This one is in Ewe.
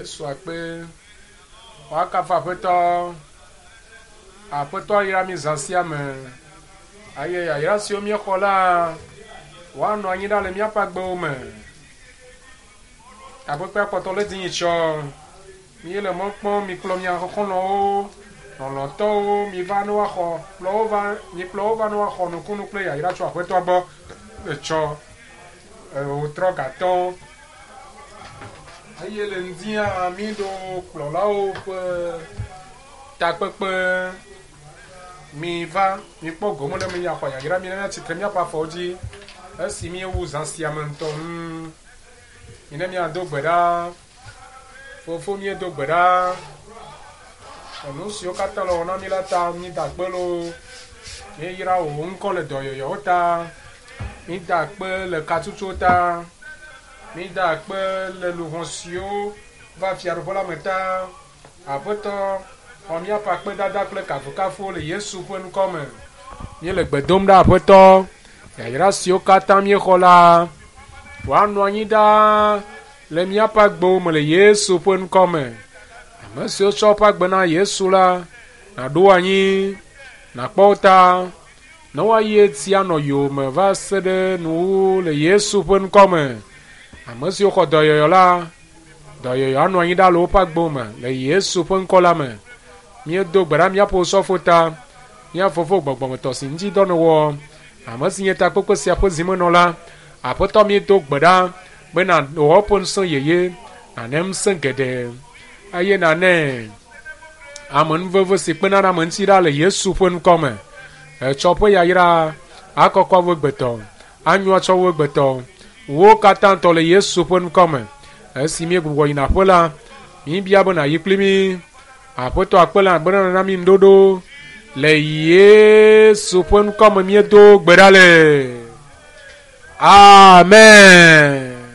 Yesu akpe. Woakafu Aƒetɔ. Aƒetɔ ayra mi zã sia me. Eye yayra siwo míexɔ la, woanɔ anyi ɖa le míaƒe agbewo me. Takpekpea kpɔtɔ le dzi tsɔ. Míele mɔ kpɔm, mikplɔ mia xɔlɔ̃wo, lɔlɔ̃tɔwo, miva ne woaxɔ, kplɔ wo va, mikplɔ wo va ne woaxɔ nukunu kple yayra tso Aƒetɔa gbɔ. Etsɔ wotrɔ gatɔ. Eye le ŋdia míɖo kplɔlawo ƒe takpekpe. Miva, mikpɔ gome ɖe eme axɔ yayra mi ne míatsitre míaƒe afɔwo dzi esi míewu zã sia me ŋutɔ. Ŋu. Mine míado gbe ɖa. Fofo míedo gbe ɖa. Enu siwo katã le wɔm na mí la ta mída akpe loo. Míeyra wò ŋkɔ le dɔyɔyɔwo ta. Mída akpe le katsutsuwo ta. Mída akpe le luʋɔ siwo va fiaɖuƒe la me ta. Aƒetɔ, xɔ míaƒe akpedada kple kafukafuwo le Yesu ƒe ŋkɔ me. Míele gbe dom ɖa Aƒetɔ, yayra siwo katã míexɔ la, woanɔ anyi ɖaa le míaƒe agbewo me le Yesu ƒe ŋkɔ me. Ame siwo tsɔ woƒe agbe na Yesu la, nàɖo anyi, nàkpɔ wo ta, ne woayi edzi anɔ yowòme va se ɖe nuwuwu le Yesu ƒe ŋkɔ me. Ame siwo xɔ dɔyɔyɔ la, dɔyɔyɔ anɔ anyi ɖa le woƒe agbewo me le Yesu ƒe ŋkɔ la me. Míedo gbe ɖa míaƒe osɔfo ta, mía fofo gbɔgbɔmetɔ si ŋuti dɔ nèwɔ, ame si nye takpekpe sia ƒe zimenɔla. Aƒetɔ míedo gbe ɖa be nàwɔ eƒe ŋusẽ yeye, nàne ŋusẽ geɖe eye nàne amenuveve si kpena ɖe ame ŋuti ɖa le Yesu ƒe ŋkɔ me. Etsɔ ƒe yayra akɔkɔ wu egbetɔ, anyo atsɔ wu egbetɔ. Wo katã tɔ le Yesu ƒe ŋkɔ me. Esi míegbugbɔ yina aƒe la, míbia be nàyi kpli mí. Aƒetɔ akpe le agbe nana mí ŋuɖoɖo. Le Yesu ƒe ŋkɔ me míedo gbe ɖa le. Amen.